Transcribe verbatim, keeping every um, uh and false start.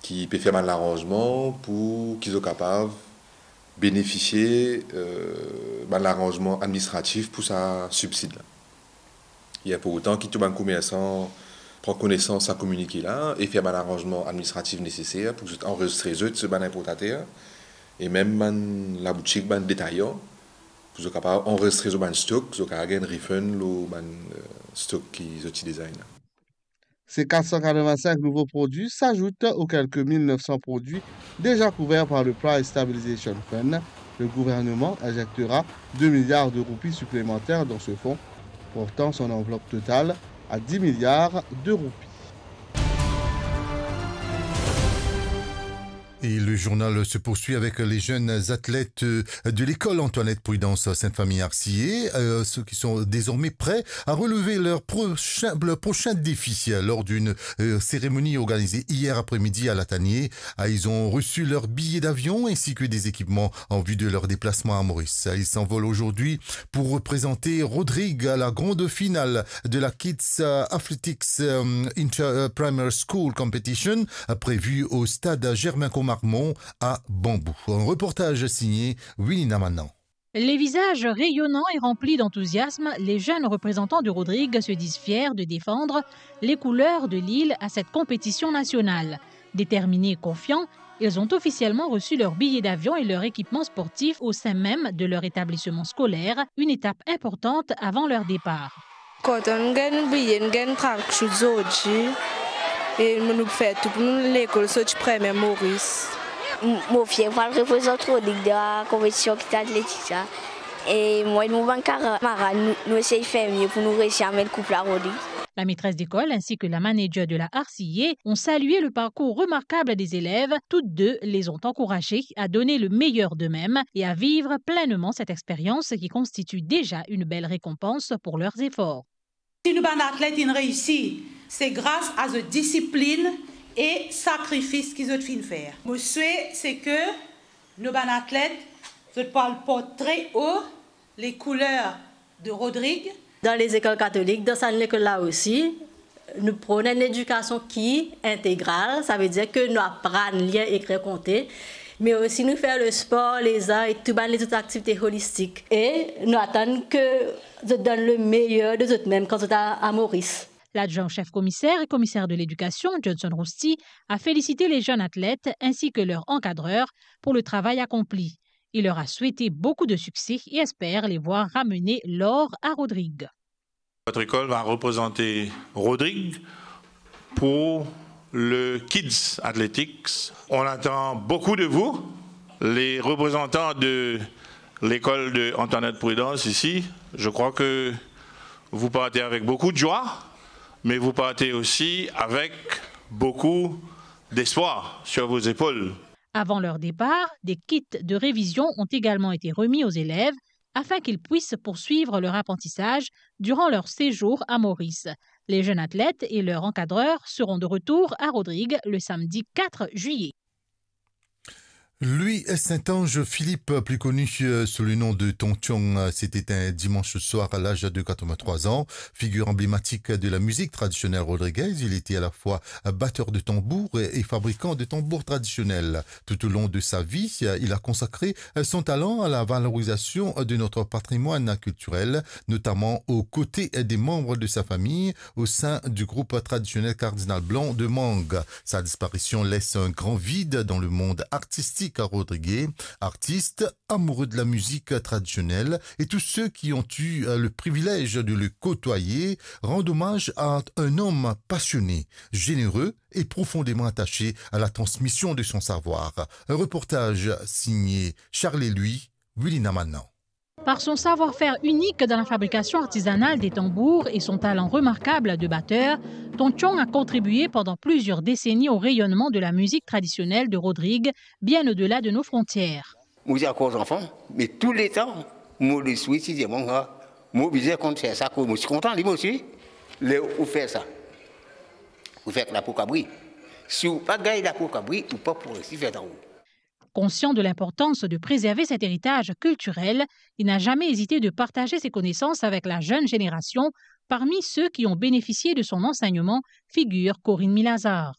ki pe fer bann laranzman pou ki zot kapav benefisie, eh, bann laranzman administratif pou sa sibsid la. E pou otan ki tou bann komersan pran konesans sa kominike la e fer bann laranzman administratif neseser pou zot anrezistre zot, zot bann inportater e mem bann laboutik, bann detayan, pou zot kapav anrezistre zot bann stok, zot kapav gagn refund lor bann, eh, stok ki zot ti deza ena. Ces quatre cent quatre-vingt-cinq nouveaux produits s'ajoutent aux quelques mille neuf cents produits déjà couverts par le Price Stabilization Fund. Le gouvernement injectera deux milliards de roupies supplémentaires dans ce fonds, portant son enveloppe totale à dix milliards de roupies. Et le journal se poursuit avec les jeunes athlètes, euh, de l'école Antoinette Prudence Sainte-Famille Arcillay, euh, ceux qui sont désormais prêts à relever leur prochain, leur prochain défi, euh, lors d'une, euh, cérémonie organisée hier après-midi à Latanier. Ah, ils ont reçu leur billet d'avion ainsi que des équipements en vue de leur déplacement à Maurice. Ils s'envolent aujourd'hui pour représenter Rodrigue à la grande finale de la Kids, euh, Athletics, euh, Inter, euh, Primary School Competition, euh, prévue au stade Germain Commarmond à Bambou. Un reportage signé Willy Namanan. Les visages rayonnants et remplis d'enthousiasme, les jeunes représentants de Rodrigue se disent fiers de défendre les couleurs de l'île à cette compétition nationale. Déterminés et confiants, ils ont officiellement reçu leur billet d'avion et leur équipement sportif au sein même de leur établissement scolaire, une étape importante avant leur départ. Kontan nou gagn biye, nou gagn tracksuit zordi, e nou pou fer tou pou nou lekol sorti premie Moris. M-, mo fier pou al reprezant Rodrig dan la konpetision kit atletik la. E mwa ek mo bann kamarad, nou, nou esey fer mie pou nou resi amenn koup la Rodrig. La maîtresse d'école ainsi que la manager de la R C A ont salué le parcours remarquable des élèves. Toutes deux les ont encouragés à donner le meilleur d'eux-mêmes et à vivre pleinement cette expérience qui constitue déjà une belle récompense pour leurs efforts. Si nou bann atlet inn reisi, se gras a zot disiplin e sakrifis ki zot finn fer. Mo swe se ke nou bann atlet, zot pou al port tre o les couleurs de Rodrig. Dan lezekol katolik, dan sa lekol la osi, nou pran enn ledikasion ki integral, savedir ke nou aprann lir, ekrir, konte, me osi nou fer lespor, lezar e tou bann lezot aktivite olistik. E nou atann ke zot donn le meyer de zot mem kan zot a, a Moris. L'adjoint au chef commissaire et commissaire de l'éducation, Johnson Rousty, a félicité les jeunes athlètes ainsi que leur encadreur pour le travail accompli. Il leur a souhaité beaucoup de succès et espère les voir ramener l'or à Rodrig. Votre école va représenter Rodrig pour le Kids Athletics. On attend beaucoup de vous, les représentants de l'école de Antoinette Prudence ici. Je crois que vous partez avec beaucoup de joie, mais vous partez aussi avec beaucoup d'espoir sur vos épaules. Avant leur départ, des kits de révision ont également été remis aux élèves afin qu'ils puissent poursuivre leur apprentissage durant leur séjour à Maurice. Les jeunes athlètes et leur encadreur seront de retour à Rodrig le samedi quatre juillet. Louis Saint-Ange Philippe, plus connu, euh, sous le nom de Tontiong, euh, s'est éteint dimanche soir à l'âge de quatre-vingt-trois ans. Figure emblématique de la musique traditionnelle rodriguaise, il était à la fois batteur de tambour et, et fabricant de tambours traditionnels. Tout au long de sa vie, euh, il a consacré, euh, son talent à la valorisation de notre patrimoine culturel, notamment aux côtés des membres de sa famille au sein du groupe traditionnel Cardinal Blanc de Mangue. Sa disparision laisse un grand vide dans le monde artistique rodriguais. Artistes, amoureux de la musique traditionnelle et tous ceux qui ont eu, euh, le privilège de le côtoyer rendent hommage à un homme passionné, généreux et profondément attaché à la transmission de son savoir. Un reportage signé Charles Louis, Willy Namanan. Par son savoir-faire unique dans la fabrication artisanale des tambours et son talent remarquable de batteur, Tontiong a contribué pendant plusieurs décennies au rayonnement de la musique traditionnelle de Rodrig, bien au-delà de nos frontières. Mo ti ankor zanfan, me touletan mo lespri ti dir mwa, mo bizin konn fer sa, mo ti kontan li, mo ti, ler ou fer sa, ou fer lapo kabri. Si ou pa gagn lapo kabri, ou pa pou resi fer tanbou. Conscient de l'importance de préserver cet héritage culturel, il n'a jamais hésité de partager ses connaissances avec la jeune génération. Parmi ceux qui ont bénéficié de son enseignement figure Corinne Milazar.